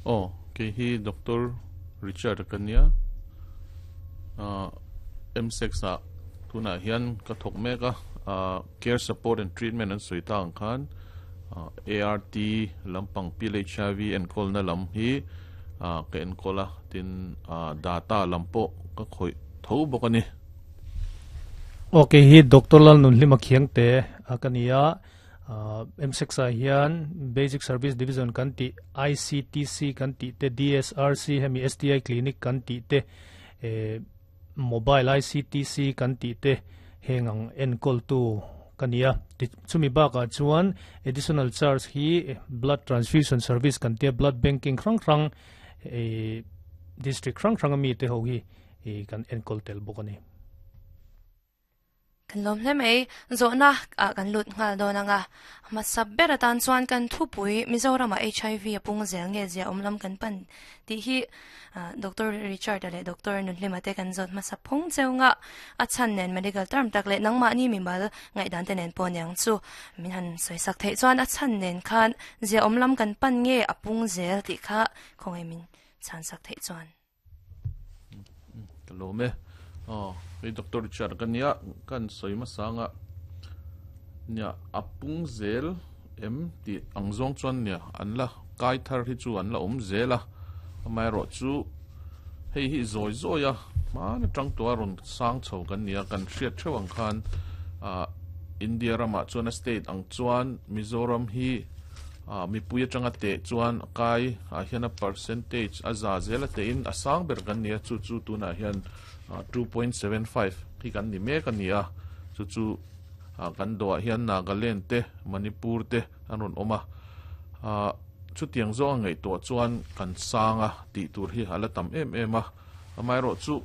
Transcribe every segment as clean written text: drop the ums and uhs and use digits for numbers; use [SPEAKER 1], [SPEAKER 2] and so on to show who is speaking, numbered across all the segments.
[SPEAKER 1] Aw, kei hi Doctor Richard ka nia. MSEX ah tunah hian ka thawk mek a, Care Support and Treatment an sawi ta ang khan ART lampang pil HIV enkawlna lam hi ka enkawl a, tin data lam pawh ka khawih tho bawk a ni.
[SPEAKER 2] Aw, kei hi Doctor Lalnunhlima Khiangte ka ni a, MSEX ah hian Basic Service Division kan tih, ICTC kan tih te, DSRC hemi STI Clinic kan tih te, Mobile ICTC kan tih te heng ang enkawltu ka ni a. Chumi bakah chuan additional charge hi Blood Transfusion Service kan tia Blood Banking hrang hrang District hrang hrang ami te ho hi kan enkawl tel bawk a ni.
[SPEAKER 3] Kan lawm hle mai. Zawhna ah kan lut nghal dawn ang a. Hmasa ber atan chuan kan thupui Mizoramah HIV a pung zel nge zia awm lam kan pan tih hi Doctor Richard-a leh Doctor Nunhlima te kan zawt hmasa phawng cheu nga. A chhan nen medical term tak leh nangmahni mimal ngaihdan te nen pawh aniang chu min han sawisak theih chuan a chhan nen khan zia awm lam kan pan nge a pung zel tih kha khawngaih min chhansak theih chuan.
[SPEAKER 1] Ka lawm e. Aw, hei Doctor Richard ka nia, kan sawi hmasa anga nia a pung zel em tih ang zawng chuan nia an la kai thar hi chu an la awm zel a, amaherawh chu hei hi zawi zawi a hman atang tawh a rawn sang chho kan nia, kan hriat theuh ang khan ah India ramah chuan a state ang chuan Mizoram hi Ah, mipui atanga teh chuan a kai ah hian a percentage a za zel a tehin a sang ber kan ni a, chu chu tunah hian 2.75 hi kan ni mek a ni a, chu chu ah kan dawhah hian Nagaland te Manipur te an rawn awm a, ah chutiang zawng a ngaihtuah chuan kan sang a tih tur hi a la tam em em a, amaherawhchu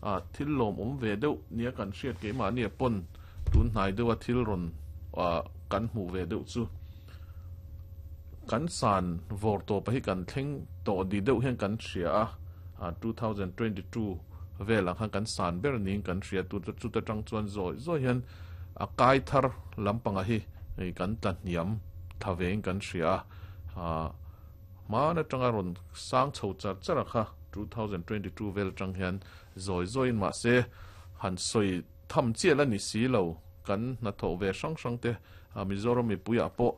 [SPEAKER 1] ah thil lawmawm ve deuh nia kan hriat keimahni a pawn tun hnai deuha thil rawn ah kan hmuh ve deuh chu. Kan san vawr tawpa hi kan thleng tawh di deuh hian kan hria a, 2022 velah khan kan san ber niin kan hria tu chuta tang chuan zawi zawi hian a kai thar lampanga hi kan tla hniam thla vein kan hria a, hman atanga rawn sang chho char char a kha 2022 vel atang hian zawi zawiin mahse han sawi Tham chiah la ni si lo, kan hnathawh ve hrang hrang te, Mizoram mipuiah pawh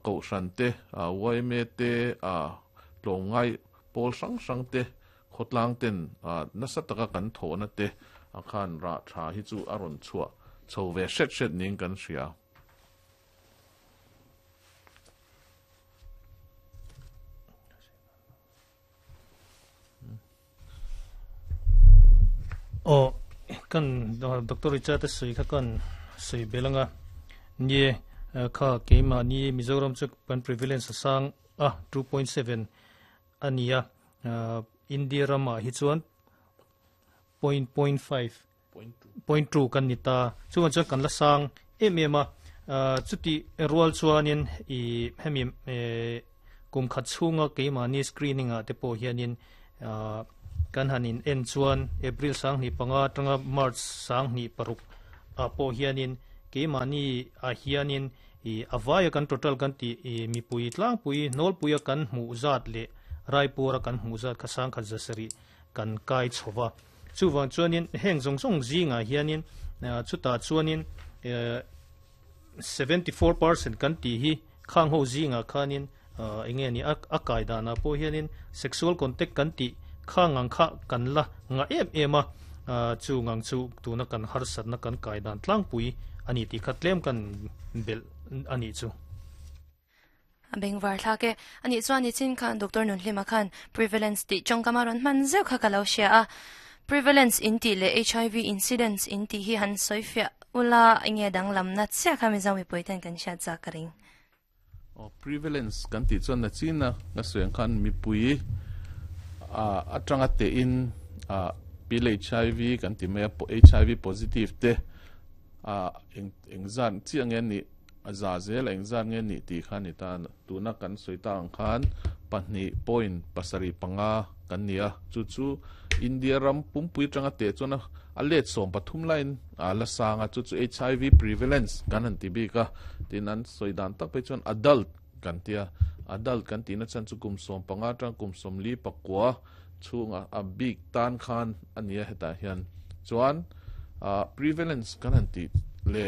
[SPEAKER 1] Kohhran te, yma te, tlawmngai pawl hrang hrang te, khawtlang ten nasa taka kan thawhna te khan rah tha hi chu a rawn chhuah chho ve hret hret niin kan hria.
[SPEAKER 2] Aw kan Doctor Richard a sawi kha kan sawi bel anga nie kha keimahni Mizoram chu kan prevalence a sang a 2.7 a ni a India ramah hi chuan 0.5 0.2 kan ni ta chuan chuan kan la sang em em a chuti rual chuanin i hemi kum khat chhunga keimahni screening ah te pawh hianin kan han in en chuan April sanghnih panga atanga March sanghnih paruk ah pawh hianin keimahni ah hianin i a vaia kan total kan tih i mipui tlangpui hnawlpuia kan hmuh zat leh Raipur-a kan hmuh zat kha sangkhat zasarih kan kai chho va. Chuvang chuanin heng zawng zawng zingah hianin chutah chuanin 74% kan tih hi khang ho zingah khanin eng nge ni a kai danah pawh hianin sexual contact kan tih khang ang kha kan la ngah em em a, chung ang chu tuna kan harsatna kan kai dan tlangpui a ni tih kha tlem kan belh a nih chu.
[SPEAKER 3] A bengvar thlak e. A nih chuan nichin khan Doctor Nunhlima khan prevalence tih tawngkam a rawn hman zeuh kha ka lo hria a. Prevalence in tih leh HIV incidence in tih hi han sawi fiah ula enge danglamna chiah kha Mizo mipui ten kan hriat zak ka ring.
[SPEAKER 1] Aw prevalence kan tih chuan nachina ka sawi ang khan mipui atanga tehin pil HIV kan ti mai a HIV positive te engzat chiah nge nih A za zel a engzat nge nih tih kha ni ta. Tuna kan sawi ta ang khan 2.75 kan ni a, chu chu India ram pumpui atanga teh chuan a let 13 laiin a la sang a, chu chu HIV prevalence kan han ti bik a, tin an sawi dan tak phei chuan adult. kan tia adult kan tihna chhan chu kum 15 atang kum 49 chhunga a bik tan khan ania hetah hian chuan prevalence kan han ti le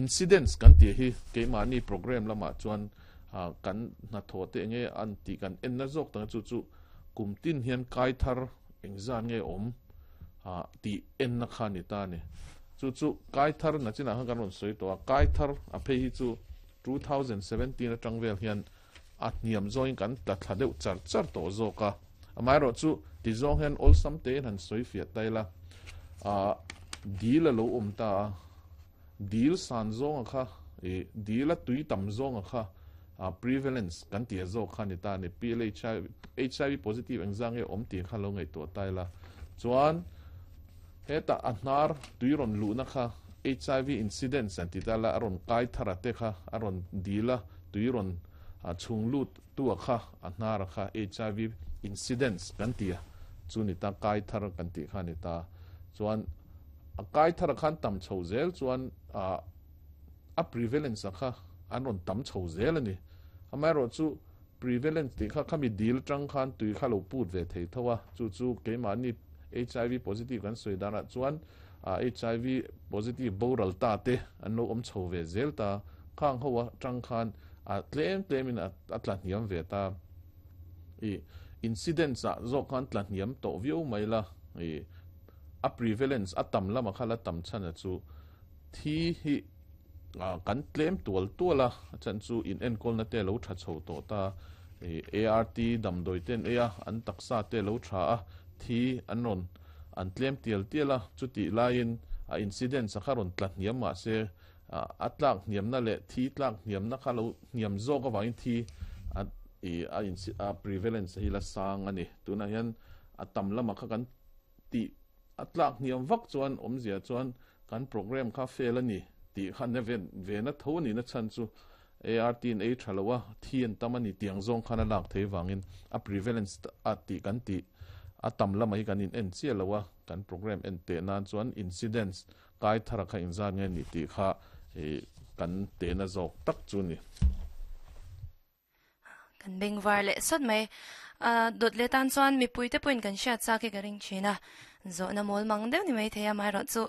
[SPEAKER 1] incidence kan ti hi keimahni program lamah chuan kan hnathawh te enge an ti kan en na zawk tanga chu chu kum tin hian kai thar engzan nge awm ti en na kha ni ta ni chu chu kai thar na chinah khan kan rawn sawi tawh a kai thar a phei hi chu 2017 atang vel hian a hniam zawngin kan tla thla deuh char char tawh zawk a amaherawh chu ti zawng hian awlsam te in han sawi fiah ta ila dil a lo awm ta a dil san zawnga kha dil a tui tam zawnga kha prevalence kan ti a zawk kha ni ta ni PLHIV HIV positive engzang nge awm tih kha lo ngaihtuah ta ila chuan heta a hnar tui rawn luhna kha HIV incidence an ti ta la a rawn kai thar a te kha a rawn dil a tui rawn chhung lut tua kha a hnar a kha HIV incidence kan ti a chu ni ta kai thar kan ti kha ni ta chuan a kai thar a khan tam chho zel chuan a prevalence a kha an rawn tam chho zel ani amaherawh chu prevalence tih kha khami dil tang khan tui kha lo put ve thei tho a chu chu keimahni HIV positive kan sawi danah chuan HIV positive boral ta te an lo awm chho ve zel ta khang ho a tang khan a tlem tlemin a tla hniam ve ta i incidence ah zawk khan tla hniam tawh viau mai la i a prevalence a tam lama kha la tam chhan a chu thi hi kan tlem tual tual a chan chu in enkawl na te lo tha chho tawh ta ART damdawi ten ei a an taksa te lo tha a thi an rawn an tlem tial tial a chuti laiin a incidence a kha rawn tla hniam mah se a tlak hniamna leh thi tlak hniamna kha lo hniam zawk awangin thi a a a prevalence hi la sang ani tunah hian a tam lama kha kan ti a tlak hniam vak chuan awmzia chuan kan program kha fail ani ti kha ne ve ve na tho ani na chan chu ART in ei thalowa thi an tam ani tiang zawng khan a lak thei wangin a prevalence a ti kan ti a tam lama hi kan in en chia lowa kan program en te nan chuan incidence kai thara kha inzan nge ni ti kha kan te na zawk tak chu ni.
[SPEAKER 3] Kan bengvar leh sawt mai dot le tan chuan mipui te pawhin kan hriat chak hi ka ring thin a zawh na mawl mang deuh ni mai thei a amaherawh chu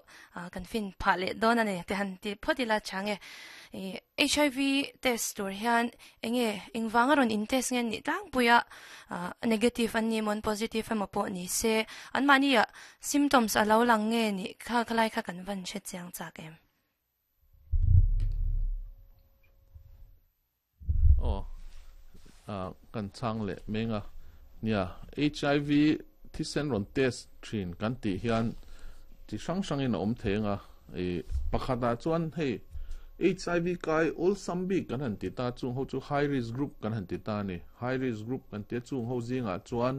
[SPEAKER 3] kan fin phah leh dawn ani te han ti phawt ila chang e HIV test tur hian enge engvanga rawn in test nge ni tlangpui a negative an ni mawn positive emaw pawh ni se an mahni ah symptoms a lo lang nge ni kha khalai kha kan van hre chiang chak em.
[SPEAKER 1] Oh kan chang leh menga nia HIV thisen rawn test thin kan ti hian chi hrang hrangin a awm thei anga e pakhata chuan hei HIV kai awlsam bik kan han ti ta chung ho chu high risk group kan han ti ta ni high risk group kan tia chung ho zingah chuan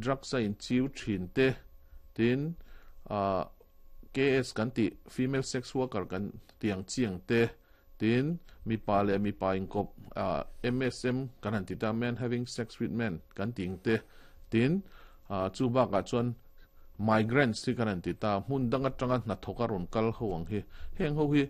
[SPEAKER 1] drugs a in chiu thin te tin KS kan ti female sex worker kan tiang chiang te tin mipa leh mipa inkawp MSM kan han ti ta men having sex with men kan ting te tin chu bakah chuan migrants hi kan han ti ta hmun danga tanga hnathawka rawn kal ho ang hi heng ho hi